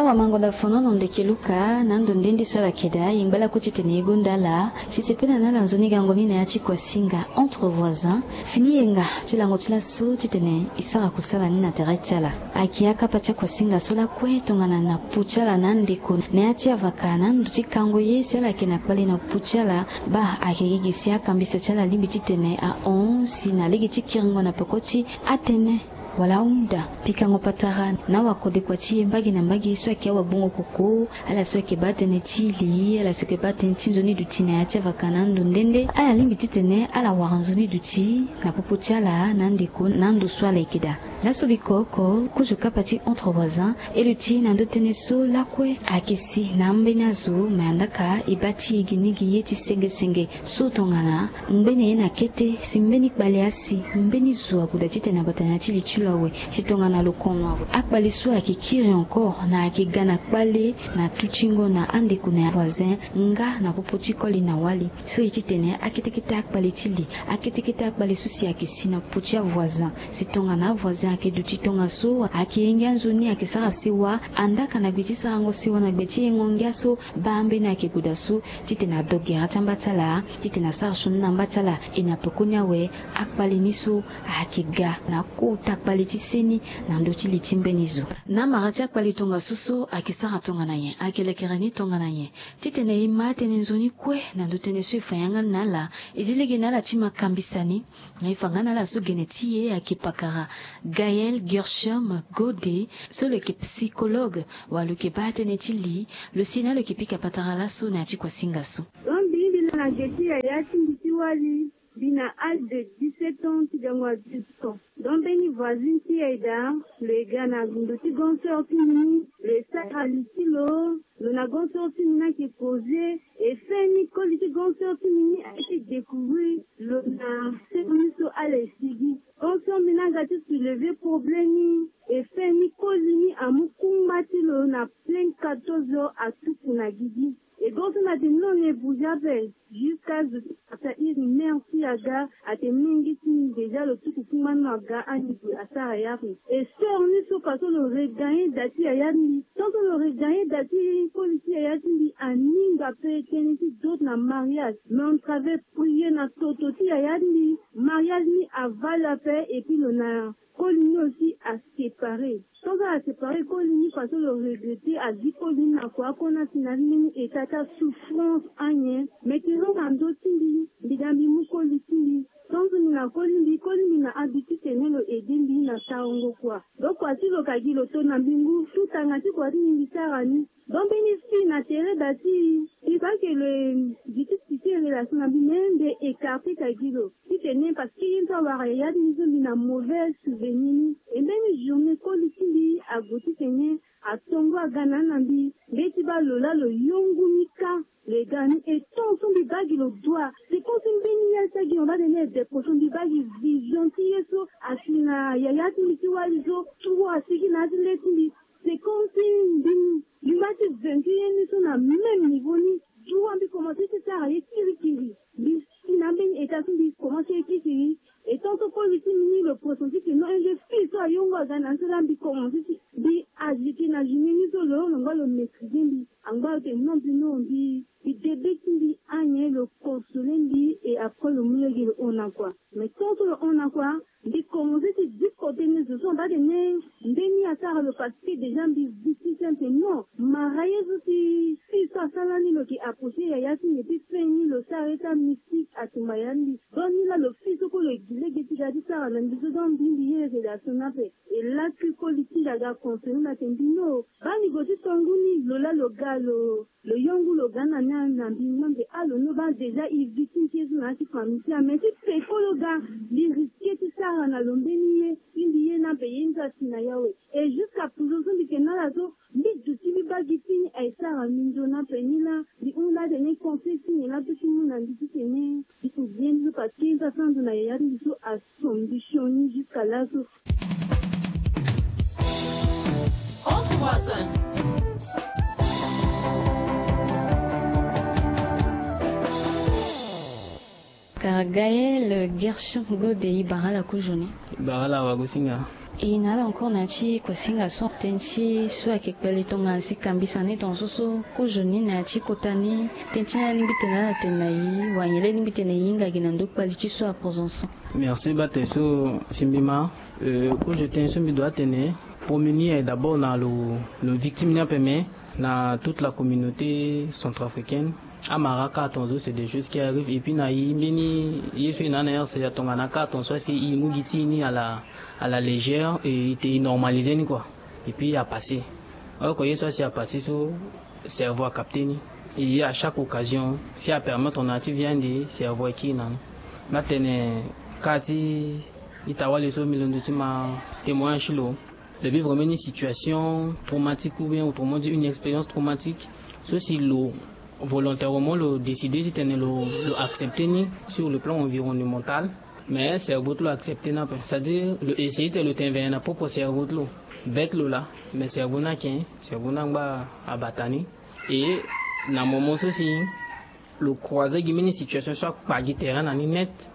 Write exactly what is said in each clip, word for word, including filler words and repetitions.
Amango da fono na ndeke luka na ndo nde nde so ala keda yengba lakue titene ye gonda ala. Ti sepela na ala nzoni gango ni na ya ti kuasinga entre voisins. Fini yenga ti lango ti laso titene e sara kusala ni na tere ti ala. Ayeke akapa ti akuasinga so lakue tongana na pu ti ala na andeko na ya ti avaka na ndo ti kango ye si ala yeke na kpale na pu ti ala. Baa ayeke gigi si akambisa ti ala alingbi titene ahon si na lege ti kiringo na peko ti atënë wala ahunda pikango patara na wakodekua ti e mbage na mbage so ayeke awagbongo koko, ala so ayeke baa tënë ti li, ala so ayeke baa tënë ti nzoni duti na ya ti avaka na ando nde nde ala lingbi titene ala wara nzoni duti na popo ti ala na andeko na ando so ala yeke daa. Laso biko oko kozo kapa ti entre voisins e luti na ndo tënë so lakue ayeke si na ambeni azo me andaka e baa ti e gi ni gi ye ti sengesenge so tongana ngbene ye na kete si mbeni kpale asi mbeni zo ague daa titene abata na ya ti li ti lo awe. Si tongana lo kono awe akpale so ayeke kiri encore na ayeke ga na kpale na tutingo na andeko na ya voisin nga na popo ti koli na wali. So ye titene akete kete akpale ti li akete kete akpale so si ayeke si na popo ti avoisin. Si tongana avoisin ayeke duti tongaso ayeke yenge anzoni ayeke sara sewa andaka na gbe ti sarango sewa na gbe ti yengo ngia so baa mbeni ayeke gue daa so titene adoge na ya ti amba ti ala titene asara sioni na amba ti ala. E na pekoni awe akpale ni so ayeke ga na kota kpale ti seni na ndö ti li ti mbeni zo. Na amara ti akpale tongaso so ayeke sara tongana nyen? Ayeke lekere ni tongana nyen? Titene e ma atënë nzoni kue na ndö tënë so e fa yanga ni na ala, e zi lege na ala ti ma kambisa ni. Na e fa nga na ala so gene ti e ayeke pakara Gaël Gershom Gode so lo yeke psychologue. Wala lo yeke baa tënë ti li. Lo si na lo yeke pika patara laso na ya ti kuasinga so. Don mbi mbi na na ge ti yaya ti mbi ti wali. Mbi na âge de dix-sept ans ti gango à dix ans. Donc mbeni voisine ti e daa lo ye ga na ndo ti grand sœur ti mbi ni, lo ye sara li ti lo. Lo na grand sœur ti mbi ni ayeke causer. E fin ni koli ti grand sœur ti mbi ni ayeke découvrir lo na sœur ni so ala ye sigi. Grand sœur mbi ni aga ti soulever problème ni. E fin ni koli ni amu kungba ti lo na plein quatorze heures atuku na gigi. E grand sœur mbi atene non, e bouger ape. Jusqu'à zo ti pasa iri mère ti aga atene mingi ti mbi déjà lo tuku kungba ni lo aga ani gue asara yari. E sœur ni so façon lo regagner da ti yaya ti mbi. Tant que lo regagner da ti koli ti yaya ti mbi aninga ape tënë ti d'autres na mariage. Mais on travaille prier na toto ti yaya ti mbi. Mariage ni avale ape et puis lo na koli ni aussi asépare. Tant que asépare koli ni façon lo regretter azi koli ni na kua akona si na mbeni état ti asouffrance anyen. Mais tene na ndö ti mbi mbi daa mbi mu koli ti mbi. Tant que mbi na koli mbi koli mbi na habitude tene lo aider mbi na sarango kua. Donc kua ti lo ka gi lo to na mbi ngu tout tanga ti kua ti mbi mbi sara ni. Donc mbeni fille na tere da ti e, e fa ke lo e gi ti site relation na mbi mais mbi écarter ka gi lo. Titene parce que ye ni so awara yaya ti mbi so mbi na mauvais souvenir ni. E mbeni journée koli ti mbi ague titene atongo aga na ni na mbi. Mbe ti baa lo laa lo yongu ni kâ. Lo ye ga na ni e tant so mbi baa gi lo doigt. C'est comme si mbeni ya ti agi mabade ni e décrocher mbi baa gi vision ti ye so asi na yaya ti mbi ti wali so. Tro asigi na ya ti le ti mbi. C'est comme si mbi mbi ma ti vaincu ye ni so na même niveau ni. Jour wa mbi commencer ti sara ye kirikiri. Mbi si na mbeni état so mbi commencer ye kirikiri. Et tant que koli ti mbi ni lo pressenti que non, un jeune fille so ayongo aga na ni so laa mbi commencer ti mbi agiter na journée ni so lo lo ngba lo maîtriser mbi. Angba lo tene non mbi non mbi mbi debe ti mbi anyen lo consoler mbi et après lo mu lege lo hon na kua. Mais tant que lo hon na kua mbi commencer ti discuter ni zo so amba tene ndeni asara lo parce que déjà mbi victime ti ante non. Mara ye so si fille so asara ni lo yeke approcher yaya ti mbi et puis fin ni lo sara ye ti amystique atumba yaya ti mbi. Donc ni laa lo fille so kue lo ye gi lege ti ga ti sara na mbi so donc mbi mbi ye relation ni ape. E laa ti koli ti mbi aga conseiller mbi atene mbi no baa mbi gue ti tongo ni lo laa lo ga lo lo yongu lo ga na ni na mbi. Mbi alo no baa déjà e victime ti ye so na ya ti famille ti amen ti peko lo ga. Mbi risquer ti sara na lo mbeni ye ti mbi ye ni ape ye ni so asi na ya awe. Et jusqu'à présent so mbi yeke na ala so mbi duti mbi baa gi fini aye sara mbi nzoni ape ni laa. Mbi hunda atene conseil ti nyen laa mbi peut ti mu na mbi titene mbi hubien mbi so parce que ye ni so asara ndo na yaya ti mbi so aso mbi sioni jusqu'à laso. Entre voisins. Kara Gaël Gershon Gode, e bara ala kozo ni. E bara ala wagosinga. E na ala encore na ya ti kuasinga so, tënë ti so ayeke kpale tongana si kambisa ni tongaso so kozo ni na ya ti kota ni. Tënë ti ni alingbi tene ala tene na e, wala nyen la alingbi tene e hinga gi na ndö kpali ti so apoison so? Merci bate so si mbi ma. Euh, kozo tënë so mbi doit atene, premier ni aye d'abord na lo, lo victime ni ape, mais na toute la communauté centrafricaine. Amara kâ tongaso, c'est des choses qui arrivent. Et puis na e mbeni ye so e na na R C A, tongana kâ tongaso asi e mu gi ti e ni à la, à la légère, e, e normaliser ni quoi. Et puis a passer. Or que ye so asi a passer so, cerveau a capter ni. Et à chaque occasion, si a permettre na ti vie ande, cerveau akiri na ni. Mbi atene kâ ti ita wali so mbi londo ti ma témoignage ti lo, lo vivre mbeni situation traumatique ou bien autrement dit une expérience traumatique, so si lo volontairement lo décider titene lo, lo accepter ni sur le plan environnemental. Mais cerveau ti lo accepter ni ape. C'est-à-dire lo essayer titene lo tene vene na propre cerveau ti lo, bête lo laa. Mais cerveau ni ake, cerveau ni angba abata ni. Et na moment so si lo croiser gi mbeni situation so akpa gi terrain na ni net,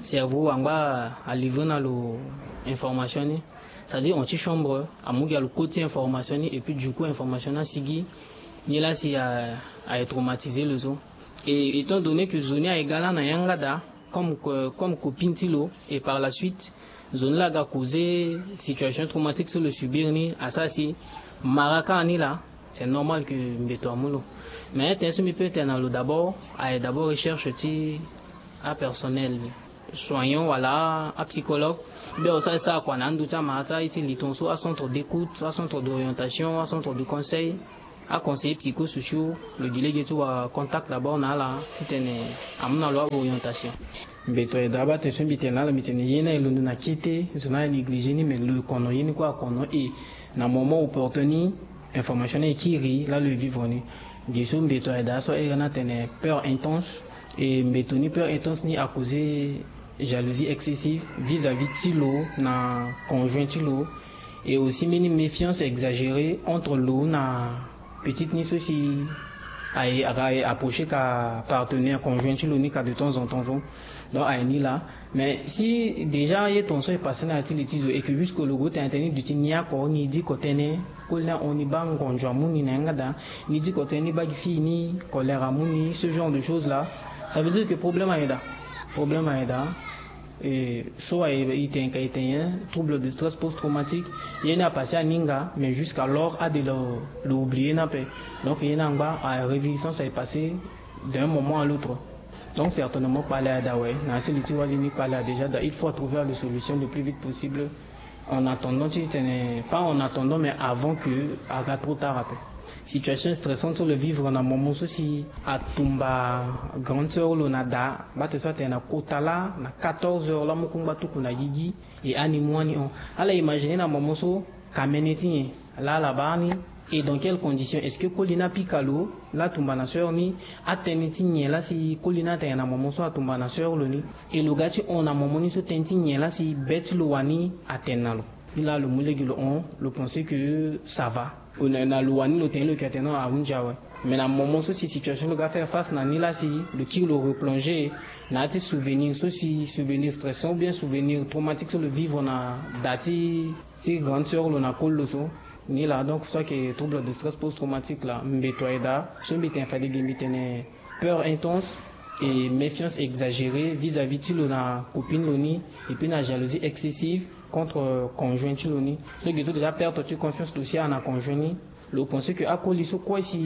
cerveau angba alivrer na lo information ni. C'est-à-dire hon ti chambre, amu gi na lo koti information ni, et puis du coup information ni asigi ni laa si a, aye traumatiser lo so. Et étant donné que zo ni aye ga laa na yanga daa comme, comme copine ti lo, et par la suite zo ni laa aga causer situation traumatique so lo subir ni, asara si mara kâ ni laa, c'est normal que mbeto amu lo. Mais tënë so mbi peut tene na lo d'abord, aye d'abord recherche ti apersonnel soignant wala apsychologue. Mbi asara kua na andu ti amara ti aye ti li tongaso, acentre d'écoute, acentre d'orientation, acentre de conseil. Aconseiller psychosociaux, lo gi lege ti wara contact d'abord na ala titene amu na lo aorientation. Mbeto aye daa bate so mbi tene na ala, mbi tene ye ni aye londo na kete, zo ni aye négliger ni, mais lo kono ye ni kue akono, et na moment opportun ni information ni aye kiri laa lo ye vivre ni. Gi so mbeto aye daa so aye ni atene peur intense. Et mbeto ni peur intense ni a causer jalousie excessive vis-à-vis ti lo na conjoint ti lo, et aussi mbeni méfiance exagérée entre lo na petite ni so si aye, aga aye approcher ka partenaire conjoint ti lo ni ka de temps en temps so. Donc aye ni laa. Mais si déjà ye tongaso e passer na ya ti li ti zo et que jusque lo gue tene tene ni duti ni oko, ni diko tene koli ni ahon ni baa ngonzo amu ni na yanga daa, ni diko tene ni baa gi fille ni colère amu ni, ce genre de choses là, ça veut dire que problème aye daa. Problème aye daa. Et so aye, e tene ka e tene, hein, trouble de stress post-traumatique. Ye ni apasser aninga, mais jusqu'alors ade lo, lo oublier ni ape. Donc ye ni angba a réviviscence aye passer d'un moment à l'autre. Donc certainement kpale aye daa, ouais, na ya ti li ti wali ni kpale aye déjà daa, il faut trouver la solution le plus vite possible. En attendant, titene, pas en attendant, mais avant que aga trop tard ape. Situation stressante so lo vivre na moment so si atumba grande sœur lo na daa, bate so atene na kota laa na quatorze heures laa mu kungba tuku na gigi, e ani mu ani hon. Ala imaginer na moment so kamene ti nyen laa ala baa ni, et dans quelles conditions? Est-ce que koli ni apika lo laa atumba na sœur ni? Atënë ti nyen laa si koli ni atene na moment so atumba na sœur lo ni? Et lo ga ti hon na moment ni so tënë ti nyen laa si be ti lo wani atene na lo? Ni laa lo mu lege lo hon, lo penser que ça va. Na, na lo wani lo tene lo yeke atene non, ahunzi awe. Mais na moment so si situation lo ga faire face na ni laa si lo kiri lo replonger na ya ti souvenir so si souvenir stressant ou bien souvenir traumatique so lo vivre na daa ti, ti grande sœur lo na koli lo so. Ni laa donc so ayeke trouble de stress post-traumatique laa, mbeto aye daa. So mbi tene fade ge mbi tene peur intense et méfiance exagérée vis-à-vis ti lo na copine lo ni, et puis na jalousie excessive contre conjoint ti lo ni. So ge so déjà perte ti confiance lo si awe na conjoint ni. Lo penser que akoli so kue si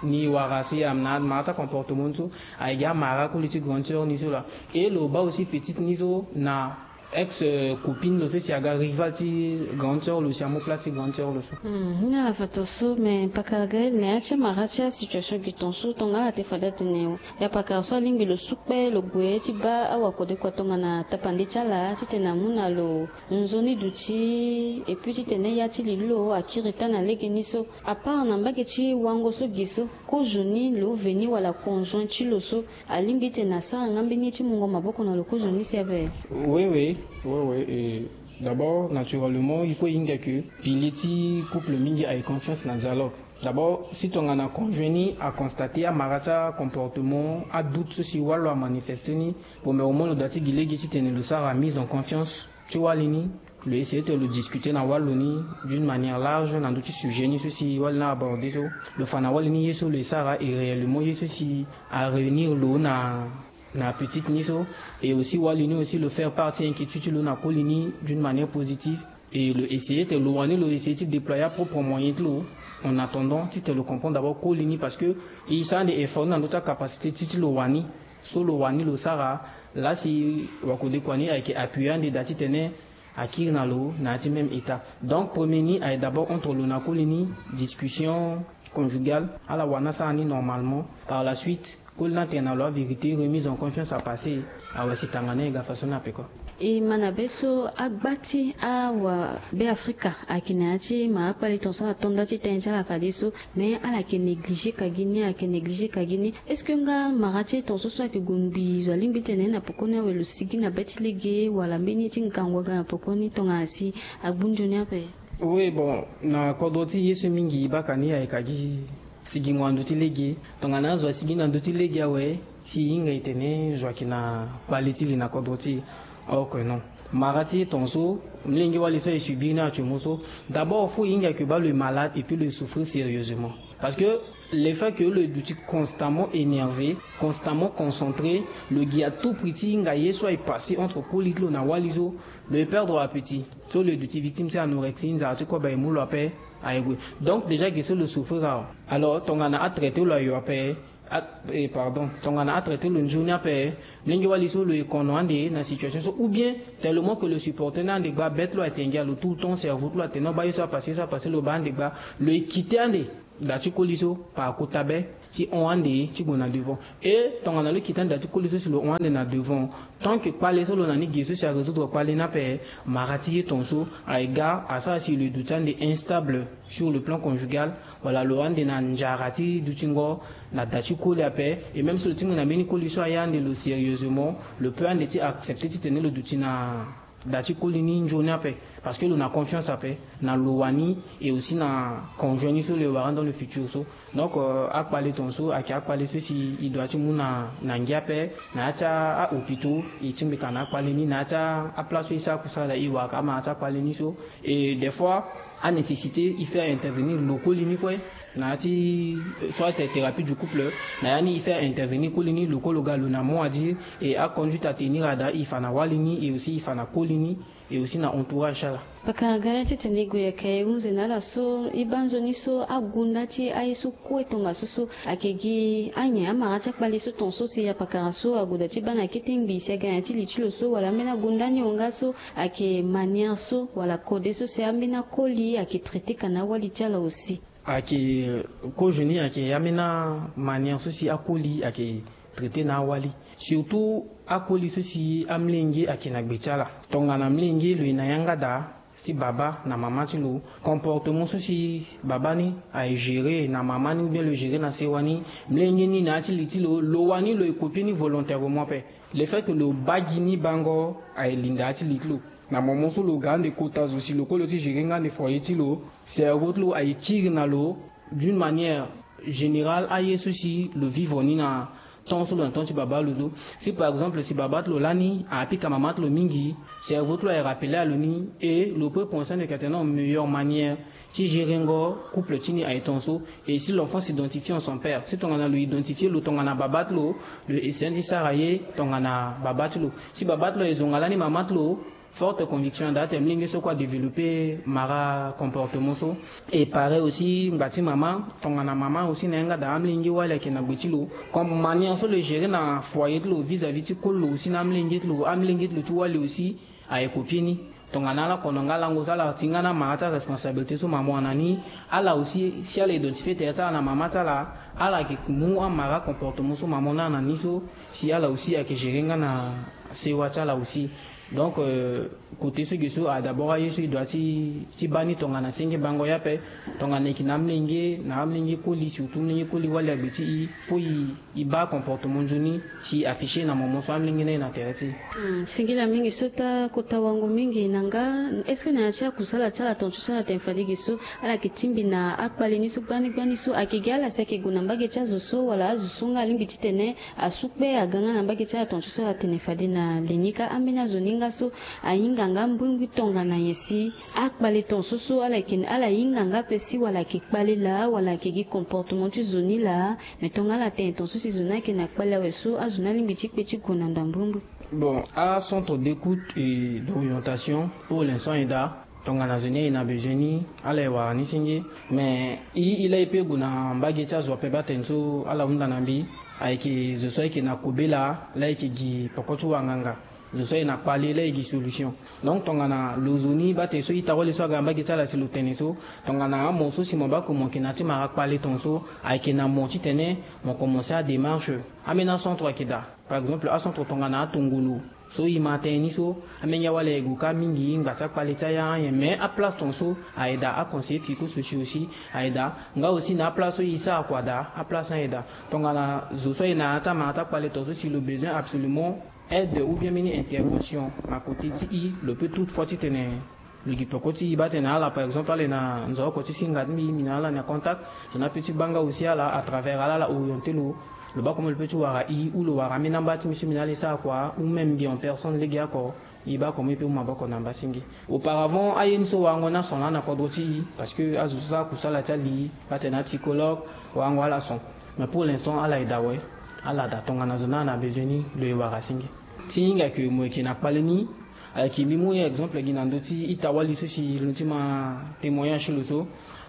ni wara si amu na amara ti acomportement ni so, aye gi amara akoli ti grande sœur ni so laa. Et lo baa aussi petite ni so na ex, euh, copine lo so si aga rival ti grande sœur lo si amu place ti grande sœur lo so. Hmm, ni na fato so, mais pakara Gaël, na ya ti amara ti asituation gi tongaso, tongana ala tene fade atene ya pakara so alingbi lo su kpe lo gue ti baa awakodekua tongana tapande ti ala titene amu na lo nzoni duti, et puis titene ya ti li lo akiri taa na legeni so. À part na mbage ti wango so gi so, kozo ni, lo veni wala conjoint ti lo so, alingbi titene asara nga mbeni ye ti mungo maboko na lo kozo ni si ape? Oui, oui, oui, oui. Et d'abord, naturellement, il faut hinga que pilier ti couple mingi aye confiance na dialogue. D'abord, si tongana conjoint ni aconstater amara ti acomportement, adoute so si wali lo amanifester ni, premièrement lo doit ti gi lege titene lo sara mise en confiance ti wali ni. Lo essayer tene lo discuter na wali lo ni d'une manière large na ndö ti sujet ni so si wali ni abordé so. Lo fa na wali ni ye so lo esara et réellement ye so si aréunir lo na na petite ni so. Et aussi wali ni aussi lo faire part ti inquiétude ti lo na koli ni d'une manière positive. Et lo essayer tene lo wani lo essayer ti déployer apropre moyen ti lo en attendant titene lo comprendre d'abord koli ni parce que e sara ande effort ni na ndö ti acapacité ti ti lo wani. So lo wani lo sara laa si wakodekua ni ayeke appuyer ande daa titene akiri na lo na ya ti même état. Donc premier ni aye d'abord entre lo na koli ni, discussion conjugale, ala wani asara ni normalement. Par la suite koli ni atene na lo avérité, remise en confiance apasser. Awe si tanga ni ayeke ga façon ni ape kua. E ma na be so agba ti awa Beafrika ayeke na ya ti ma akpale tongaso ala to nda ti tënë ti ala fadeso. Mais ala yeke négliger ka gi ni, ala yeke négliger ka gi ni. Est-ce que nga mara ti e tongaso so ayeke gue ngbii zo alingbi tene na pekoni awe lo sigi na be ti lege wala mbeni ye ti ngangu aga na pekoni tongana si agbu nzoni ape? Oui, bon, na kodro ti e ye so mingi e baa ka ni ayeke ka gi sigingo na ndö ti lege. Tongana azo asigi na ndö ti lege awe si e hinga e tene zo ayeke na kpale ti li na kodro ti e. Ok, non. Mara ti e tongaso, mlenge wali so aye subir ni actuellement so, d'abord faut e hinga ke baa lo est malade et puis lo est souffrir sérieusement. Parce que le fait que lo duti constamment énervé, constamment concentré, lo gi à tout prix ti hinga ye so aye passer entre koli ti lo na wali so, lo est perdre appétit. So lo duti victime ti anorexie, nzara ti kobe aye mu lo ape, aye gue. Donc déjà ge so lo souffrir awe. Alors tongana atraité lo ayo ape, ah, eh, pardon, tongana atraité lo nzoni ape, mlenge wali so lo e kono ande na situation so ou bien tellement que lo supporter ni ande gba, be ti lo aye tengia lo tout le temps, cerveau ti lo atene no baa ye so apassé, ye so apassé, lo baa ande gba, lo e quitté ande daa ti koli so par kota be ti hon ande ti gue na devant. Et tongana lo quitté ande daa ti koli so si lo hon ande na devant, tant que kpale so lo na ni ge so si arésoudre kpale ni ape, mara ti ye tongaso aye ga asara si lo duti ande instable sur le plan conjugal, wala lo ande na nzara ti dutingo na daa ti koli ape. Et même si lo tingbi na mbeni koli so aye ande lo sérieusement, lo peut ande ti accepter titene lo duti na daa ti koli ni nzoni ape, parce que lo na confiance ape na lo wani et aussi na conjoint ni so lo e wara dans le futur so. Donc euh, akpale tongaso ayeke akpale so si e doit ti mu na na ngia ape. Na ya ti ahôpitaux e tingbi ka na akpale ni, na ya ti aplace so e sara kusala e wara ka amara ti akpale ni so. Et des fois anécessité e faire intervenir lo koli ni kue na ya ti soit thérapie du couple, na ya ni e faire intervenir koli ni, lo kue lo ga lo na mot à dire. Et aconduite à tenir ada e fa na wali ni et aussi e fa na koli ni et aussi na entourage ti ala. Pakara ga ni titene e gue ayeke hunze na ala so e baa nzoni so agunda ti aye so kue tongaso so ayeke gi anyen amara ti akpale so tongaso si apakara so ague daa ti baa na kete ngbii si aga na ya ti li ti lo so wala ambeni agunda ni honga so ayeke manière so wala kode so si ambeni akoli ayeke traité ka na awali ti ala aussi. Ayeke kozo ni ayeke ambeni amanière so si akoli ayeke traité na awali. Surtout akoli so si amlenge ayeke na gbe ti ala. Tongana mlenge lo ye na yanga daa ti baba na mama ti lo, comportement so si baba ni aye gérer na mama ni ou bien lo gérer na sewa ni, mlenge ni na ya ti li ti lo, lo wani lo ye copier ni volontairement ape. Le fait que lo baa gi ni bango aye linda ya ti li ti lo. Na moment so lo ga ande kota zo si lo kue lo ti gérer nga ande foyer ti lo, cerveau ti lo aye kiri na lo d'une manière générale aye so si lo vivre ni na temps so lo na temps ti baba lo so. Si par exemple si baba ti lo lani apika mama ti lo mingi, cerveau ti lo aye rappeler a lo ni et lo peut penser ande ka tene na meilleure manière ti gérer ngo couple ti ni aye tongaso. Et si l'enfant s'identifie en son père, si tongana lo identifier lo tongana baba ti lo, lo essayer ti sara ye tongana baba ti lo. Si baba ti lo aye zonga lani mama ti lo, forte conviction daa tene mlenge so kue adévelopper mara comportement so. Et pareil aussi ngba ti mama, tongana mama aussi na yanga daa amlenge wali ayeke na gbe ti lo, comme manière so lo gérer na foyer ti lo vis-à-vis ti koli lo aussi na amlenge ti lo, amlenge ti lo ti wali aussi aye copier ni. Tongana ala kono nga lango so ala ti nga na mara ti aresponsabilité so mama wani na ni, ala aussi si ala identifier tere ti ala na mama ti ala, ala yeke mu amara comportement so mama wani na ni so, si ala aussi ayeke gérer nga na sewa ti ala aussi. Donc euh, côté so ge so a d'abord aye so e doit ti ti baa ni tongana senge bango ye ape. Tongana e yeke na amlenge na amlenge koli, surtout mlenge koli wali agbe ti e, faut e e baa comportement nzoni si e afficher na moment so amlenge ni aye na tere ti e. Hmm, singila mingi so ta kota wango mingi na nga. Est-ce que na ya ti akusala ti ala tongaso so ala tene fade ge so ala yeke tingbi na akpale ni so gbani gbani so ayeke gi ala si ayeke gue na mbage ti azo so wala azo so nga alingbi titene asu kpe aga nga na mbage ti ala tongaso so ala tene fade na Na li ni kâ, ambeni azo ni nga so ahinga nga mbrimbri tongana nyen si akpale ton so so ala yeke, ala hinga nga ape si wala ayeke kpale laa wala ayeke gi comportement ti zo ni laa. Mais tongana ala tene ton so si zo ni ayeke na kpale awe so, azo ni alingbi ti kpe ti gue na ndo ya mbrimbri. Bon, acentre d'écoute et d'orientation pour l'instant ayeke daa. Tongana zo ni ayeke na besoin ni, ala yeke wara ni senge. Mais i, i laa i pe gue na mbage ti azo ape, baa tene so ala hunda na mbi, ayeke zo so ayeke na kobe laa, laa ayeke gi poko ti wanganga. Zo so ayeke na kpale laa ayeke gi solution. Donc tongana lo zo ni, baa tene so ita wali so aga na mbage ti ala si lo tene so, tongana amoto so si mo baa ko mo yeke na ya ti mara kpale ton so, ayeke na mo titene mo commencer adémarche. Ambeni acentre ayeke daa. Par exemple, acentre tongana atongolo so i ma tënë ni so, amenge awali aye gue kâ mingi, ngba ti akpale ti aya anyen. Mais aplace ton so aye daa, aconseiller psychosociaux aussi aye daa. Nga aussi na aplace so i sara kua daa, aplace ni aye daa. Tongana zo so aye na ya ti amara ti akpale ton so si lo besoin absolument aide ou bien mbeni intervention na côté ti i, lo peut toutefois titene lo gi peko ti i. Baa tene ala, par exemple, ala yeke na nzoko ti singa ti mbi, mbi na ala na contact, zo ni apeut ti baa nga aussi ala à travers ala, ala orienter lo. Lo baa comment lo peut ti wara i, ou lo wara ambeni amba ti mbi so mbi na ala e sara kua, ou même mbi en personne lege oko, i baa comment i peut mu maboko na mba senge. Auparavant aye ni so warango ni ason laa na kodro ti i, parce que azo so asara kusala ti ali, baa tene apsychologue, warango ala son. Mais pour l'instant ala yeke daa awe. Ala daa. Tongana zo ni ala na besoin ni, lo yeke wara senge. Ti hinga ke mo yeke na kpale ni, ayeke mbi mu exemple gi na ndö ti ita wali so si lo ti ma témoignage ti lo so.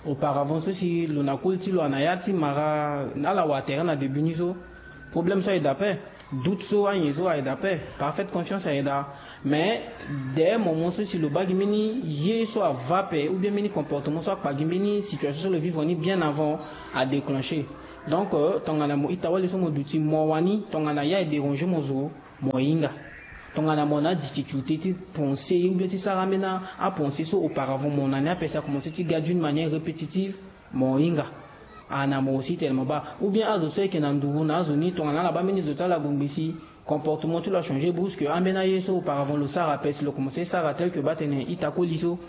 Auparavant so si lo na koli ti lo ana ya ti mara, ala wara tere na début ni so, problème so aye daa ape, doute so, anyen so aye daa ape, parfaite confiance aye daa. Mais dès moment so si lo baa gi mbeni ye so ava ape, ou bien mbeni comportement so akpa gi mbeni situation so lo vivre ni bien avant, adéclencher. Donc euh, tongana mo ita wali so mo duti mo wani, tongana ye aye déranger mo zo, mo hinga. Tongana mo na adifficulté ti penser ou bien ti sara ambeni apensée so auparavant mo na ni ape, si akomencer ti ga d'une manière répétitive, mo hinga. Ana mo aussi tene mo baa. Ou bien azo so ayeke na nduru na azo ni, tongana ala baa mbeni zo ti ala ague ngbe si comportement ti lo achanger brusque, ambeni aye so auparavant lo sara ape, si lo komencer sara tel que baa tene ita koli so,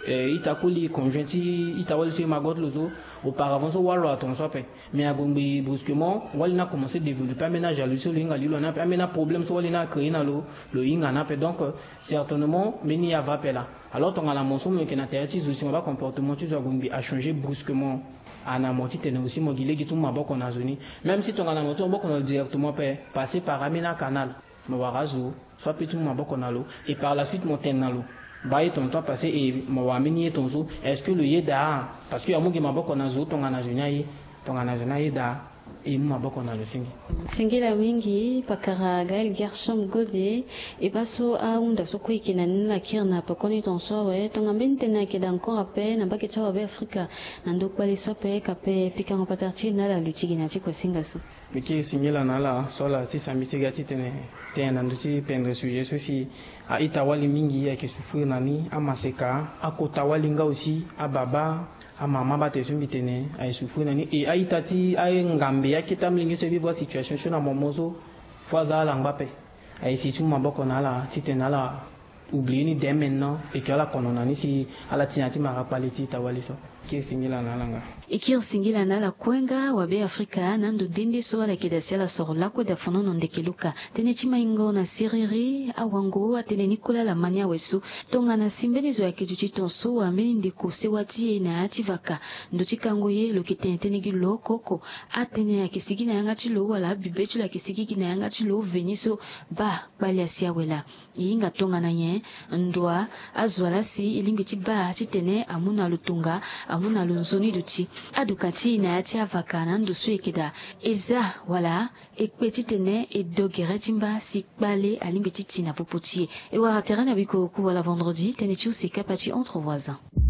eh, ita koli conjoint ti ita wali so, ye mago ti lo so, auparavant so wâ lo atongaso ape. Mais ague ngbe brusquement, wali ni akomencer développer ambeni ajalousie so lo hinga li lo na ape, ambeni aproblème so wali ni acréer na lo, lo hinga ni ape. Donc euh, certainement mbeni ye ava ape laa. Alors tongana mo so mo yeke na tere ti zo, si mo baa comportement ti zo ague ngbe, achanger brusquement, ana mo titene aussi mo gi lege ti mu maboko na zo ni. Même si tongana mo ti mu maboko na lo directement ape, passer par ambeni acanal, mo wara azo so apeut ti mu maboko na lo, et par la suite mo tene na lo, baa ye ton so apassé, et mo wara mbeni ye ton so, est-ce que lo ye daa? Parce que amu gi maboko na zo, tongana zo ni aye, tongana zo ni aye daa, e mu maboko na lo senge. Singila mingi pakara Gaël Gershom Gode. E baa so ahunda so kue e yeke na ni lakiri na pekoni ton so awe, tongana mbeni tënë ayeke daa encore ape na mbage ti awabe Afrika, na ndo kpale so ape, ka pe pikango patara ti e na ala luti gi na ya ti kuasinga so. Mbi kiri singila na ala so ala tisa mbi ti ga titene tene na ndö ti pendre sujet so si a-ita-wali mingi ayeke souffrir na ni, amaseka, akota-wali nga aussi, ababa, amama, baa tene so mbi tene aye souffrir na ni. E a-ita ti angambe, akete amolenge so e vivre asituation so na momo so, fo aza ala ngba ape. Aye si ti mu maboko na ala titene ala oublier ni dès maintenant, et que ala kono na ni si ala ti na ya ti mara kpale ti ita-wali so. Kiri singila na ala nga. E kiri singila na ala kue nga, wabe Afrika, na ando nde nde so ala yeke daa si ala soro lakue daa fanono ndeke luka. Tënë ti maingo na siriri, awango, atënë ni kue laa ala ma ni awe so. Tongana si mbeni zo ayeke duti ton so, wala mbeni ndeko sewa ti e na ya ti vaka, ndo ti kango ye, lo yeke tene tënë gi lo oko oko. Atënë ayeke sigi na yanga ti lo, wala abibe ti lo ayeke sigi gi na yanga ti lo, veni so, baa, kpale asi awe laa. E hinga tongana nyen? Ndoa, azo laa si e lingbi ti baa titene amu na lo tonga, amu na lo nzoni duti. Aduka ti e na ya ti avaka na ndo so e yeke daa, e za wala e kpe titene e do gere ti mba si kpale alingbi ti ti na popo ti e. E wara tere na bikoroku wala vendredi, tënë ti use kapa ti Entre Voisins.